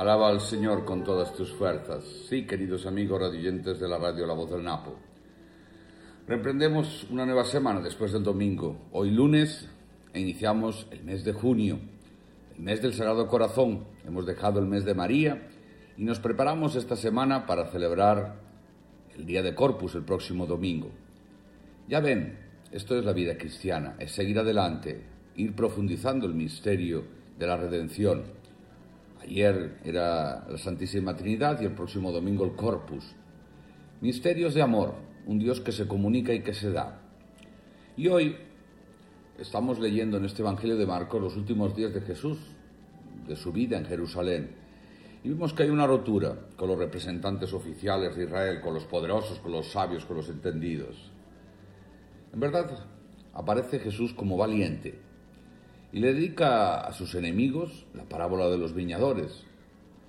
Alaba al Señor con todas tus fuerzas. Sí, queridos amigos radioyentes de la radio La Voz del Napo. Reemprendemos una nueva semana después del domingo. Hoy lunes e iniciamos el mes de junio, el mes del Sagrado Corazón. Hemos dejado el mes de María y nos preparamos esta semana para celebrar el día de Corpus el próximo domingo. Ya ven, esto es la vida cristiana, es seguir adelante, ir profundizando el misterio de la redención. Ayer era la Santísima Trinidad y el próximo domingo el Corpus. Misterios de amor, un Dios que se comunica y que se da. Y hoy estamos leyendo en este Evangelio de Marcos los últimos días de Jesús, de su vida en Jerusalén. Y vemos que hay una rotura con los representantes oficiales de Israel, con los poderosos, con los sabios, con los entendidos. En verdad, aparece Jesús como valiente y le dedica a sus enemigos la parábola de los viñadores,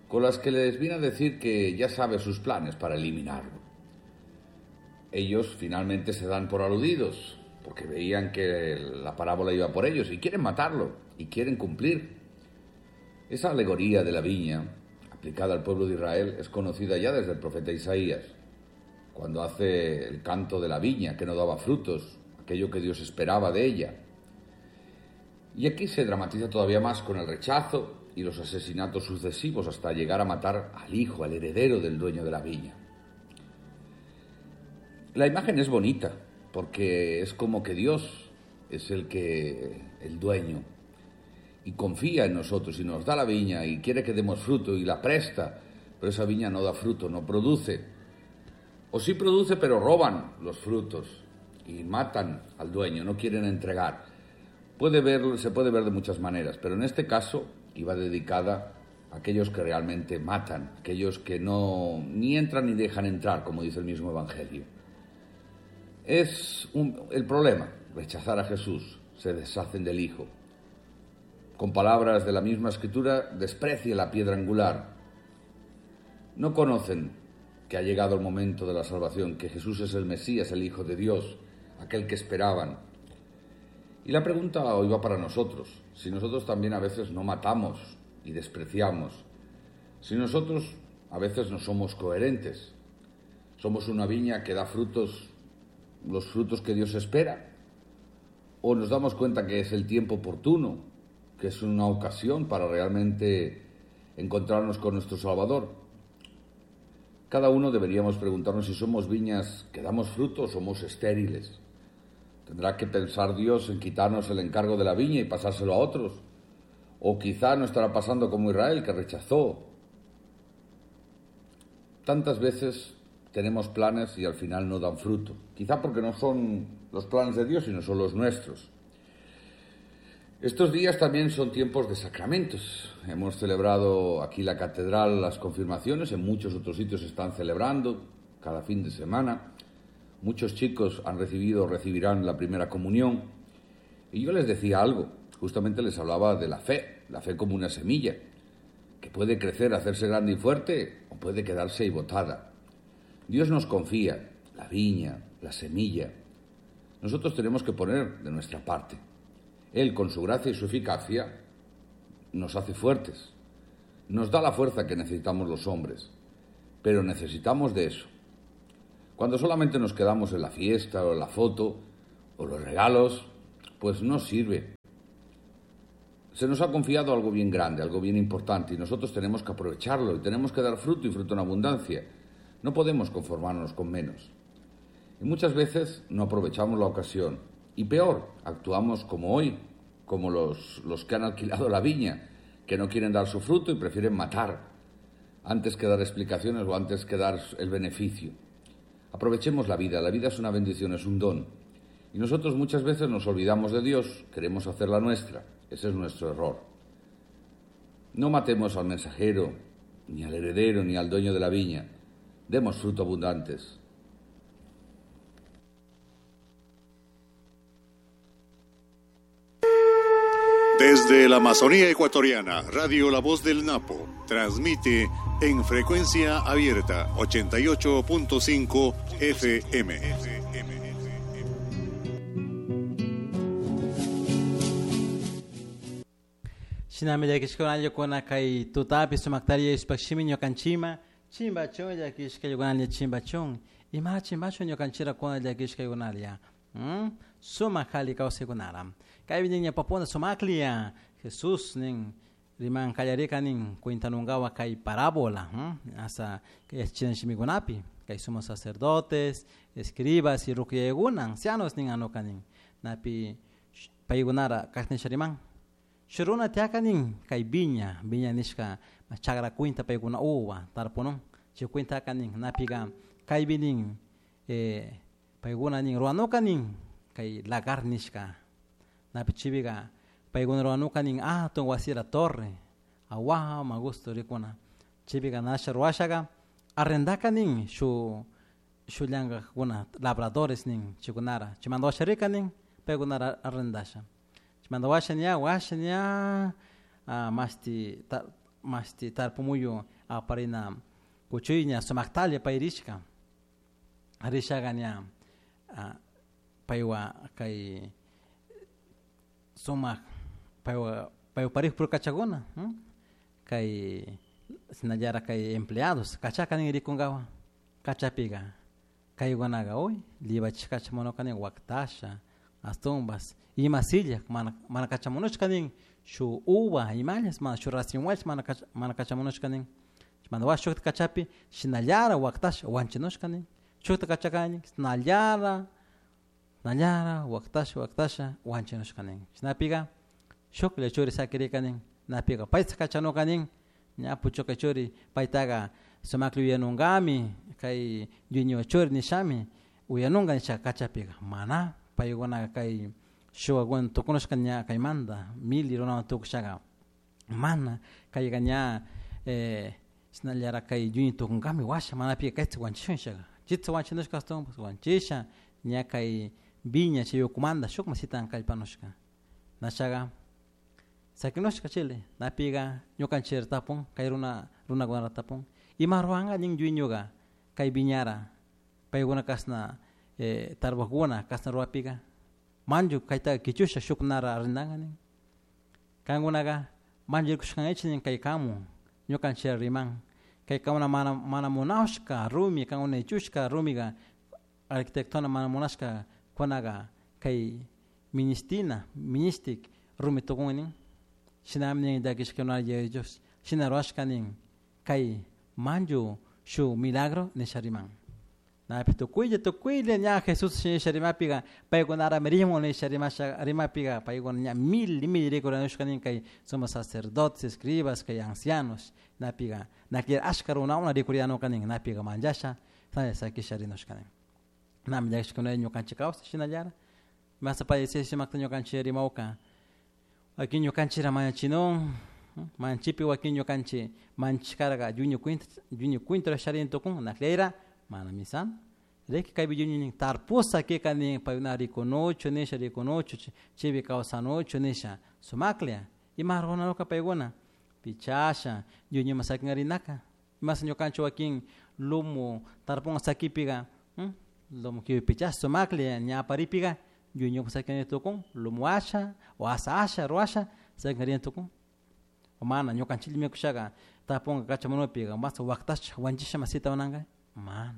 con las que les viene a decir que ya sabe sus planes para eliminarlo. Ellos finalmente se dan por aludidos, porque veían que la parábola iba por ellos y quieren matarlo y quieren cumplir. Esa alegoría de la viña, aplicada al pueblo de Israel, es conocida ya desde el profeta Isaías, cuando hace el canto de la viña que no daba frutos, aquello que Dios esperaba de ella. Y aquí se dramatiza todavía más con el rechazo y los asesinatos sucesivos hasta llegar a matar al hijo, al heredero del dueño de la viña. La imagen es bonita, porque es como que Dios es el dueño, y confía en nosotros y nos da la viña y quiere que demos fruto y la presta, pero esa viña no da fruto, no produce. O sí produce, pero roban los frutos y matan al dueño, no quieren entregar. Se puede ver de muchas maneras, pero en este caso iba dedicada a aquellos que realmente matan, aquellos que no ni entran ni dejan entrar, como dice el mismo Evangelio. Es el problema, rechazar a Jesús, se deshacen del Hijo. Con palabras de la misma Escritura, desprecia la piedra angular. No conocen que ha llegado el momento de la salvación, que Jesús es el Mesías, el Hijo de Dios, aquel que esperaban. Y la pregunta hoy va para nosotros, si nosotros también a veces no matamos y despreciamos, si nosotros a veces no somos coherentes, somos una viña que da frutos, los frutos que Dios espera, o nos damos cuenta que es el tiempo oportuno, que es una ocasión para realmente encontrarnos con nuestro Salvador. Cada uno deberíamos preguntarnos si somos viñas que damos frutos o somos estériles. Tendrá que pensar Dios en quitarnos el encargo de la viña y pasárselo a otros. O quizá no estará pasando como Israel, que rechazó. Tantas veces tenemos planes y al final no dan fruto. Quizá porque no son los planes de Dios, sino son los nuestros. Estos días también son tiempos de sacramentos. Hemos celebrado aquí la catedral las confirmaciones, en muchos otros sitios se están celebrando cada fin de semana. Muchos chicos han recibido o recibirán la primera comunión. Y yo les decía algo, justamente les hablaba de la fe, la fe como una semilla, que puede crecer, hacerse grande y fuerte, o puede quedarse ahí botada. Dios nos confía la viña, la semilla. Nosotros tenemos que poner de nuestra parte. Él, con su gracia y su eficacia, nos hace fuertes. Nos da la fuerza que necesitamos los hombres. Pero necesitamos de eso. Cuando solamente nos quedamos en la fiesta o en la foto o los regalos, pues no sirve. Se nos ha confiado algo bien grande, algo bien importante, y nosotros tenemos que aprovecharlo y tenemos que dar fruto y fruto en abundancia. No podemos conformarnos con menos. Y muchas veces no aprovechamos la ocasión. Y peor, actuamos como hoy, como los que han alquilado la viña, que no quieren dar su fruto y prefieren matar antes que dar explicaciones o antes que dar el beneficio. Aprovechemos la vida, la vida es una bendición, es un don. Y nosotros muchas veces nos olvidamos de Dios, queremos hacer la nuestra. Ese es nuestro error. No matemos al mensajero, ni al heredero, ni al dueño de la viña. Demos fruto abundantes. Desde la Amazonía ecuatoriana, Radio La Voz del Napo transmite en frecuencia abierta 88.5 FM. Shinami llakishkuna kay tutapi sumaktari ishpakshimi ñukanchima chimbachun llakishkaykunalla chimbachun ima chimbachun ñukanchira kuna llakishkaykunalla sumak alli kawsaykunara kaypi nin ñawpapuna sumakliya Jesús nin riman kallarika nin cuentanunkawa kay parábola hasta yachachina shimikunapi kay sumos sacerdotes escribas y rukuyaykuna ancianos nin anuka nin napi paykunara kashna riman Shuk runa tiyaka nin kay viña, viña nishka chagra cuenta paykuna uva tarpunun chay cuentaka nin napika kaypi nin paykuna nin ruwanuka nin kay lagar nishka napi chaypika paykuna ruwanuka nin atun wasira torre awaman gusto rikuna chaypika nasha ruwashaka arrendaka nin shuk shuk llankakuna labradores nin chaykunara chaymanta washa rika nin paykunara arrendasha chaymanta washa ña washa ña mashti mashti tarpumuyu aparina kuchuy ña sumaktalla pay rishka rishaka ña paywan kay sumak paywan paywan parejo puro kachakuna kay shinallara kay empleados kachaka nin rikunkawan kachapika kaykunaka uy llivachishka kachamunuka nin waktasha ashtawanpas ima silla mana mana kachamunushka nin shuk uva imallas mana shuk racimollash mana mana kachamunushka nin chaymanta washa shukta kachapi shinallara waktasha wanchinushka nin shukta kachakani shinallara shinallara waktasha waktasha wanchinushka nin shinapika shuklla churi sakirika nin napika payta kachanuka nin ña puchuka churi paytaka sumaklla uyanunkami kay dueño churi nishami uyanunka nisha kachapika mana paykunaka kay shuwakuna tukunushka ña kaymanta mili runawan tukushaka mana kayka ña shinallara kay dueño tukunkami washa manapika kayta wanchishun nishaka chita wanchinushka ashtawanpas wanchisha ña kay viña chay ukumanta shukman shitan kallpanushka nashaka sakinushka chile napika ñukanchik tapun kay runa runakunata tapun ima ruwanka nin dueñoka kay viñara paykuna kashna tarpukuna kashna ruwapika manchu kayta kichusha shuknara arrendanka nin kankunaka manchu rikushkankichik nin kay kamu ñukanchik riman kay kamuna mana mana munashka rumi kankuna ichushka rumika arquitectona mana munashka kunaka kay ministina ministik rumi tukun nin shinami nin llakishkuna Yaya Dios shina ruwashka nin kay manchu shuk milagro nisha riman napi tukuylla tukuylla ña Jesús nisha rimapika paykunarami rimun nisha rimasha rimapika paykuna ña mil mil rikuranushka nin kay sumos sacerdotes escribas kay ancianos napika nakilla ashka runakuna rikurianuka nin napika manchasha sakisha rinushka nin nami llakishkuna ñukanchik kawsay shinallara masa padecesha sumakta ñukanchik rimawka wakin ñukanchikra mañachinun manchipi wakin ñukanchik manchishkarka dueño cuenta dueño cuenta sharin tukun nakleyra mana misan riki kaypi dueño nin tarpusa kika nin paykuna rikunuchu nisha rikunuchu chaypi kawsanuchu nisha sumaklla ima runanuka paykuna pichasha dueñoman sakingarinaka imasa ñukanchik wakin lumu tarpunga sakipika lumu kiwi pichasha sumaklla ña aparipika dueñopak sakinari tukun lumu asha o asa asha ruwasha sakingarina tukun o mana ñukanchiklla mikushaka tarpunga kachamunupika masa waktasha wanchisha masita munanka mana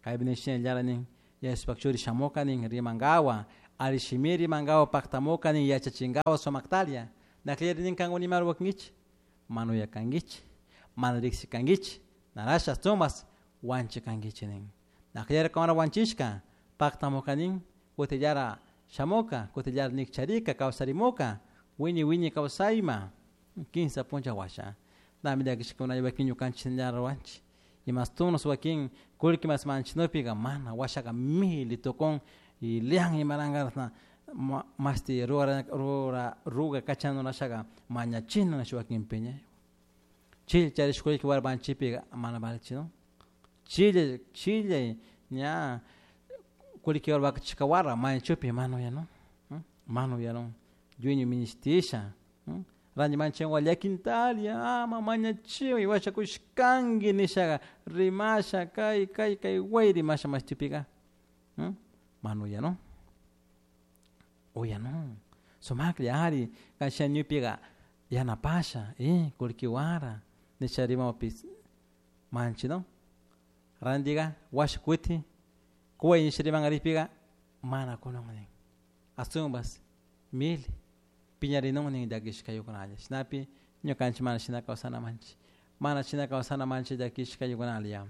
kaypi nin shinallara nin Jesuspak churi shamuka nin rimankawa alli shimi rimankawa paktamuka nin yachachinkawa sumaktalla naklleri nin kankuna ima ruwakankichik mana uyakankichik mana riksikankichik narasha tumas wanchikankichik nin nakllari kankuna wanchishka paktamuka nin kutillara shamuka kutillara nikcharika kawsarimuka wiñay wiñay kawsayma kinsa puncha washa nami llakishkuna wakin ñukanchik shinallara ruwanchik imas tunos wakin kullki mas manchinupika mana washaka mili tukun y lian imaranka mashti rura rura ruga kachanunashaka mañachina nisha wakinpi ña chilla charish kullki warmanchipika mana valichinu chilla chilla ña kullki warmachishka wara mañachupi mana uyanun mana uyanun dueño ministisha ranti manchanwa llakintalla ama mañachiway washakushkanki nishaka rimasha kay kay kay way rimasha mashtipika mana uyanun uyanun sumaklla ari kasha ñupika Yanapasha kullkiwara nisha rimapis manchi no randiga wash kuti kuway nisha rimangarikpiga mana kunun nin asumbas mil piñarinun nin llakishka ayukunalla shinapi ñukanchik mana shina kawsana manchik mana shina kawsana manchik llakishka ayukunalla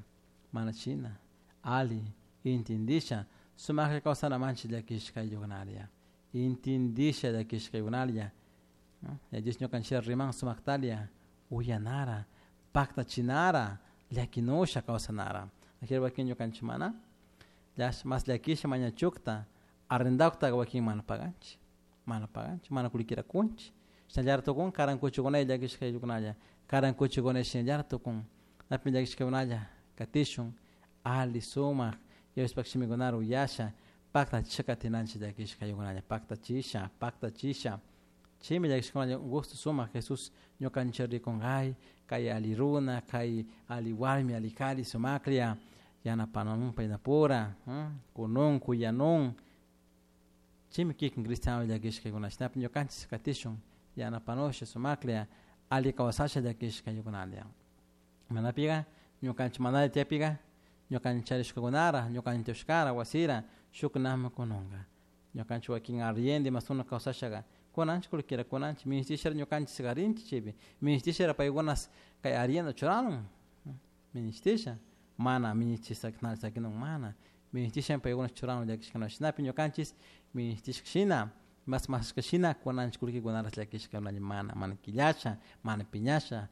mana shina ali intindisha sumaklla kawsana manchik llakishka ayukunalla intindisha llakishka ayukunalla ya Dios ñukanchik riman sumaktalia uyanara paktachinara llakinusha kawsanara ajir wakin ñukanchik mana mas llakisha mañachukta arrendakta wakin mana paganchik mana kullkira kunchik shinallara tukun karankuchukuna llakishka ayllunalla karankuchukuna shinallara tukun napi llakishkakunalla katishun ali sumak Dioshpak shimikunara uyasha paktachisha katinanchik llakishka ayllunalla paktachisha chaymi llakishkakunalla gusto sumak Jesús ñukanchik rikunkay kay ali runa kay ali warmi ali kari sumaklla yanapanun paynapura kunun kuyanun chaymi kikin cristiano llakishkakuna shinapi ñukanchik katishun yanapanusha sumaklla ali kawsasha llakishka ayllunalla manapiga ñukanchik manalla tiyapiga ñukanchik charishkakunara ñukanchik tiyashkara wasira shuknami kununka ñukanchik wakin arriendo imasuna kawsashaga kunanchik kullkira kunanchik minishtishara ñukanchik karinchik chaypi minishtishara paykunas kay arriendo churanun minishtisha mana minishtisha sakinun mana minishtisha paykunas churanun llakishkuna shinapi ñukanchik minishtishka shina mas mashka shina kunanchik kullkikunara llakishka mana mana killasha mana piñasha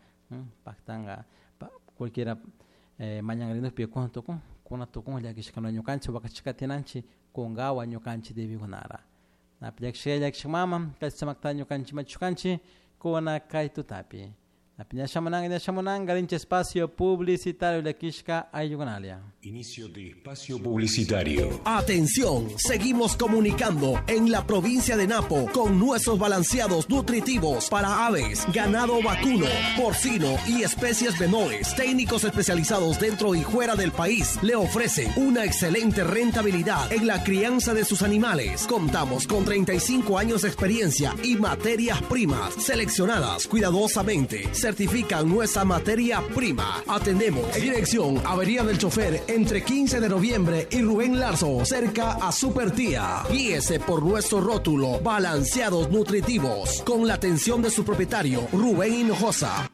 paktanka kullkira mañanrinukpi kuna tukun kuna tukun llakishkuna ñukanchik wakachishka tinanchik kunkawa ñukanchik debikunara napi llakishka llakishka mama kay sumakta ñukanchik machukanchik kuna kay tutapi napi ñashamunanka rinchik espacio publicitario llakishka ayllukunalia. Inicio de espacio publicitario. Atención, seguimos comunicando en la provincia de Napo con nuestros balanceados nutritivos para aves, ganado vacuno, porcino y especies menores. Técnicos especializados dentro y fuera del país le ofrecen una excelente rentabilidad en la crianza de sus animales. Contamos con 35 años de experiencia y materias primas seleccionadas cuidadosamente. Certifican nuestra materia prima. Atendemos en dirección Avería del Chofer entre 15 de noviembre y Rubén Larzo, cerca a Super Tía. Guíese por nuestro rótulo Balanceados Nutritivos, con la atención de su propietario, Rubén Hinojosa.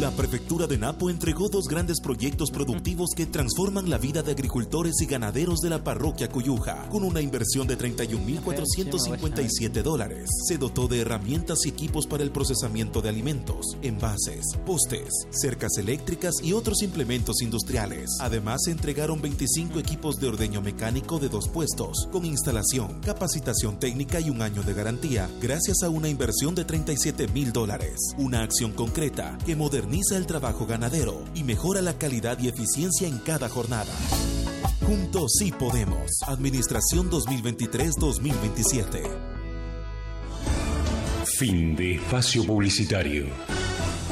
La Prefectura de Napo entregó dos grandes proyectos productivos que transforman la vida de agricultores y ganaderos de la parroquia Cuyuja. Con una inversión de $31,457, se dotó de herramientas y equipos para el procesamiento de alimentos, envases, postes, cercas eléctricas y otros implementos industriales. Además, se entregaron 25 equipos de ordeño mecánico de 2 puestos, con instalación, capacitación técnica y un año de garantía, gracias a una inversión de $37,000. Una acción concreta que moderniza el trabajo ganadero y mejora la calidad y eficiencia en cada jornada. Juntos sí podemos. Administración 2023-2027. Fin de espacio publicitario.